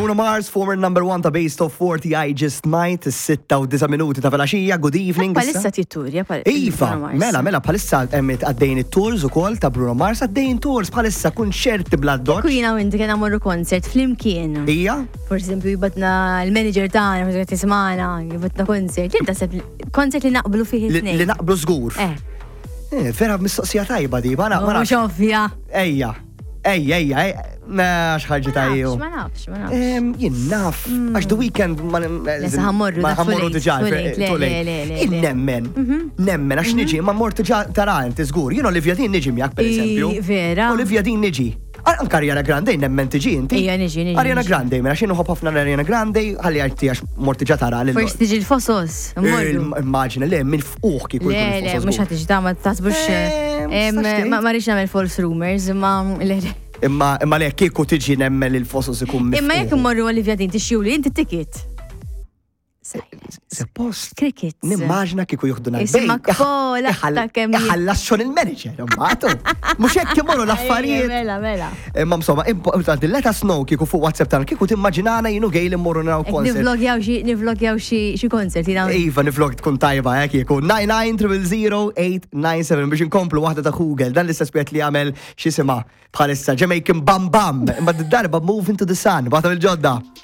Bruno Mars, former number one ta' Base Top 40, I Just Might, 6 u 9 minuti ta' filgħaxija, good evening. Bħalissa titturja. Iva, mela, mela, bħalissa emmet għaddejn it-tours ukoll ta' Bruno Mars, għaddejn tours bħalissa kunċerti bla doċ. Kujina u inti kena morru concert flimkien. Ija? For esempio, jibgħatna l-manager tagħna, forsi qed tismagħna, jibgħatna concert. Jien taħseb concert li naqblu fih Li it-tnejn. Naqblu żgur. Vera mistoqsija tajba di, ma Mhux nafx. ovvja. Ejja, ejja, ejja, ejja, na xħarġi Ma tajju. nafx, ma nafx, ma nafx. Jien naf, għax The Weeknd ma Lesa ħa mmorru, ma dak ħa mmorru too late, diġà, too late, le, too late. le, le, le, Jien le. nemmen, nemmen, għax niġi, ma mort diġà tara inti żgur. Jien Olivia Dean niġi miegħek per eżempju. Vera. Olivia Dean niġi. Anka Ariana Grande nemmen tiġi inti. Ija, niġi, niġi, Ariana niġi. Grande, mela xi nħobb ħafna Ariana Grande, ħalli għajti għax mort diġà tara lil. Forsi tiġi l-Fosos, mmorru. Immaġina, le, minn fuq kieku Le, jkun le, il-Fosos mhux żgur. ħa tiġi ta' ma taħsbux. Tistax tgħid. Ma rridx nagħmel false rumors, imma le, le. Imma le, kieku tiġi nemmen li l-Fosos ikun Imma jekk miftuħ. immorru Olivia Dean tixtruli inti ticket. Suppost. Crickets. Nimmaġina kieku juħduna. Isma' kola ta' kemm Iħallas xogħol il-manager, imbagħad. Mhux hekk imorru l-affarijiet. Mela, mela. Imma insomma, importanti, let us know kieku fuq WhatsApp tagħna kieku timmaġinana jien u Gail immorru naraw Ek concert. Nivlogjaw xi concert jina. Iva, nivlog tkun tajba, kieku. 99 biex inkomplu waħda ta' Google, dan l-istess li għamel x'jisimha bħalissa Jamaican Bam Bam, imma d-darba Move Into the Sun, waħda mill-ġodda.